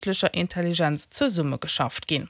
Kënschtlecher Intelligenz zesummegeschafft ginn.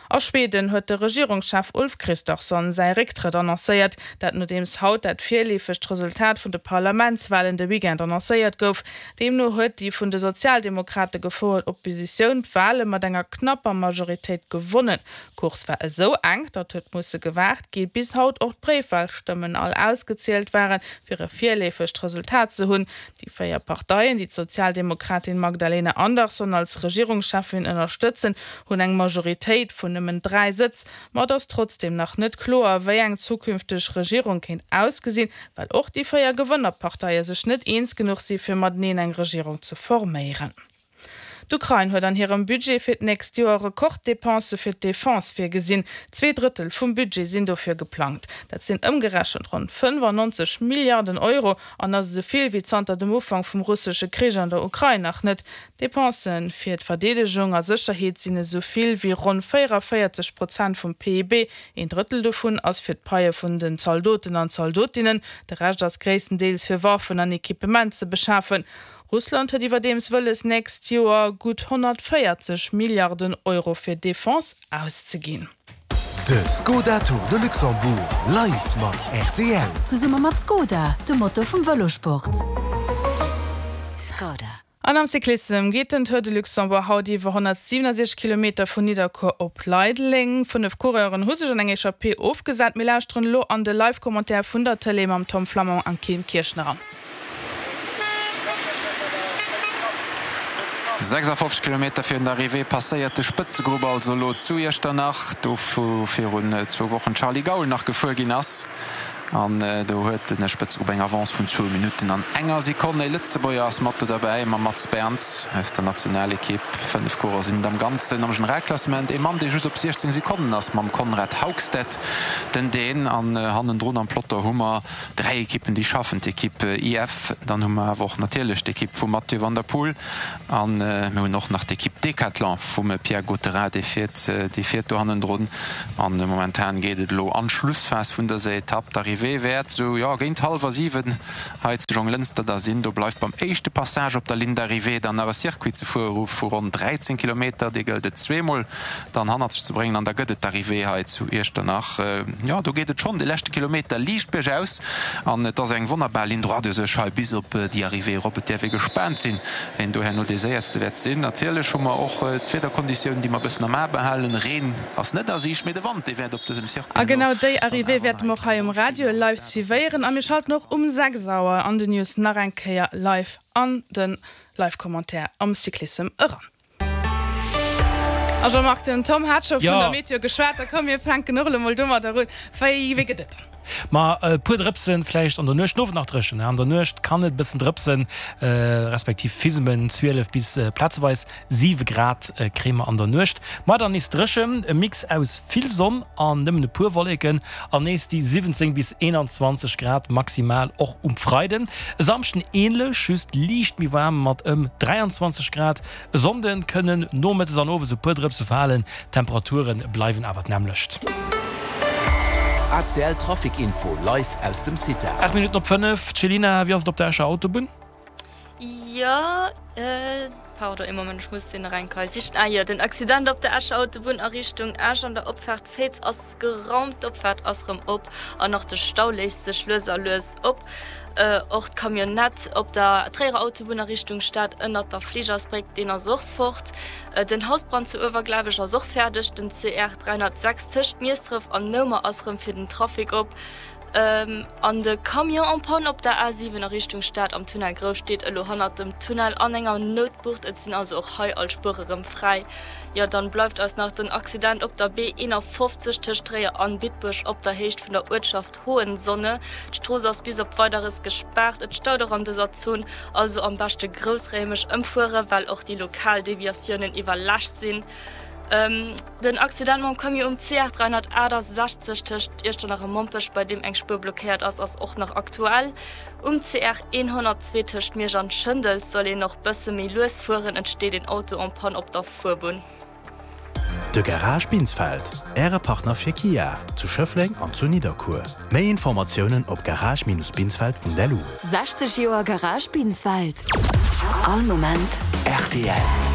A Schweden huet de Regierungschef Ulf Kristersson säi Récktrëtt annoncéiert, dat nodeems haut dat virleefegt Resultat vun de Parlamentswalen de Weekend annoncéiert gouf. Deemno huet déi vun de Sozialdemokrate gefouert Oppositioun d'Wale mat enger knapper Majoritéit gewonnen. D'Course war esou enk, datt huet musse gewaart gi bis haut och d'Bréifwalstëmmen all ausgezielt waren, fir e virleefegt Resultat ze hunn. Déi 4 Parteien, déi d'Sozialdemokratin Magdalena Andersson als Regierungscheffin ënnerstëtzen, hunn eng Majoritéit vun nëmmen 3 Sëtz. Ma et ass trotzdeem nach net kloer, wéi eng zukünfteg Regierung kéint ausgesinn, well och déi 4 Gewënnerparteie sech net eens genuch si fir mateneen eng Regierung ze forméieren. D'Ukrain huet an hirem Budget fir d'nächst Joer Rekorddepensë fir d'Defense virgesinn. Zweedrëttel vum Budget sinn dofir geplangt. Dat sinn ëmgerechent ronn 95 Milliarden Euro an ass esou vill wéi zanter dem Ufank vum russesche Krich an der Ukrain nach net. D'Depensë fir d'Verdeedegung a Sécherheet sinn esou vill wéi ronn 44 Prozent vum PIB. Een Drëttel dovun ass fir d'Paie vun den Zaldoten an Zaldotinnen, de Rescht ass gréisstendeels fir Waffen an Equipement ze beschafen. Russland huet iwwerdeems wëlles, nächst Joer gutt 140 Milliarden Euro fir Defense auszeginn. De Skoda Tour de Luxembourg live mat rtl. Zesumme mat Skoda, dem Motor vum Vëlosport. Skoda. An am Cyclissem geet den Tour de Luxembourg haut iwwer 167 Kilometer vun Nidderkuer op Leideleng. 5 Coureuren hu sech an eng Echappée ofgesat. Mir lauschteren elo an de Live-Commentaire vun der Tëlee mam Tom Flammang an Kim Kirchner an. 56 Kilometer virun der Arrivée passéiert de Spëtzegrupp also elo zu Iechternach, do wou virun zwou Wochen d'Charly Gaul nach gefuer ginn ass. An do huet de Spëtzegrupp eng Avance vun zwou Minutten an enger Sekonn. E Lëtzebuerger ass mat do derbäi, mam Mats Berns aus der Nationalekipp. 5 Coureur sinn et am Ganzen am Generalklassement. E Mann, dee just op 16 Sekonnen ass, mam Konrad Haugstedt, den Dän. An hannendrun am Peloton hu mer 3 Ekippen déi schaffen, d'Ekipp IF, dann hu mer awer och natierlech d'Ekipp vum Mathieu van der Poel an mir hunn och nach d'Ekipp Decathlon vum Pierre Gautherin, dee fiert, dee fiert do hannendrun. An momentan geet et elo an d'Schlussphas vun dëser Etapp. D'Arrivée wäert esou, jo, géint hallwer 7 hei zu Jonglënster da sinn. Do bleift beim éischte Passage op der Ligne d'arrivée dann nach e Circuit ze fuere vu ronn 13 Kilometer, dee gëllt et zweemol dann hannert sech ze bréngen an da gëtt et d'Arrivée hei zu Iechternach. Jo, do geet et schonn de leschte Kilometer liicht biergaus an et ass eng wonnerbar Ligne droite u sech hei bis op déi Arrivée erop. Et däerf ee gespaant sinn, ween do herno dee Séierste wäert sinn. Natierlech hu mer och d'Wiederkonditiounen, déi mer e bëssen am A behalen. Reen ass net a Siicht, mee de Wand, dee wäert op dësem Circuit A herno genau déi dann Arrivée awer nach wäerte eng mer och hei kleng um Roll Radio spillen. live suivéieren a mir schalten och um 6 Auer an den News nach eng Kéier live an de Live-Commentaire am Cyclissem eran. A Jean-Marc, den Tom hat scho vun der Meteo geschwat, da komm mir fänken och elo mol domadder un. Wéi wéi gëtt et dann? Ma e puer Drëpsen vläicht an der Nuecht, den Owend nach dréchen. An der Nuecht kann et e bëssen drëpsen, respektiv fismen, 12 bis plazeweis 7 Grad kréie mer an der Nuecht. Ma dann nees dréchen, e Mix aus vill Sonn an nëmmen e puer Wolleken an nees déi 17 bis 21 Grad maximal och um Freiden. E Samschden änlech, just liicht méi waarm mat ëm 23 Grad. E Sonnde kënnen nomëttes an owes e puer Drëpse falen, d'Temperature bleiwen awer d'nämmlecht. ACL Trafic Info live aus dem CITA. 8 Minutten op 5, Céline, wéi ass et op der Escher Autobunn? Jo, pardon, ee Moment, ech muss deen nach eng Kei sichen. Ah jo, den Accident op der Escher Autobunn a Richtung Esch an der Opfaart Féiz ass geraumt, d'Opfaart ass rëm op an och de Stau léist sech lues a lues op. Och d'Camionnette op der Tréierer Autobunn a Richtung Stad ënnert der Fligersbréck, deen ass och fort. Den Hausbrand zu Uewerglabech ass och fäerdeg. Den CR 306 tëscht Miesdref an Noumer ass rëm fir den Trafic op. An de Camion en panne op der A7 a Richtung Stad am Tunnel Grouft steet elo hannert dem Tunnel an enger Noutbucht. Et sinn also och hei all Spuere rëm fräi. Jo, dann bleift eis nach den Accident op der B51 tëscht Tréier an Bitburg op der Héicht vun der Uertschaft Hohensonne. D'Strooss ass bis op Weideres gespaart. Et staut och an dëser Zon, also am beschte groussräimeg ëmfuere well och déi lokal Deviatiounen iwwerlaascht sinn. Den Accident mam Camion um CR 368 tëscht Iechternach a Mompech, bei deem eng Spuer blockéiert ass, ass och nach aktuell. Um CR 102 tëscht Miersch an Schëndels soll een och bësse méi lues fueren, et steet een Auto en panne op der Fuerbunn. De Garage Binsfeld, Äre Partner fir Kia, zu Schëffleng an zu Nidderkuer. Méi Informatiounen op garage-binsfeld.lu. 60 Joer Garage Binsfeld. All Moment rtl.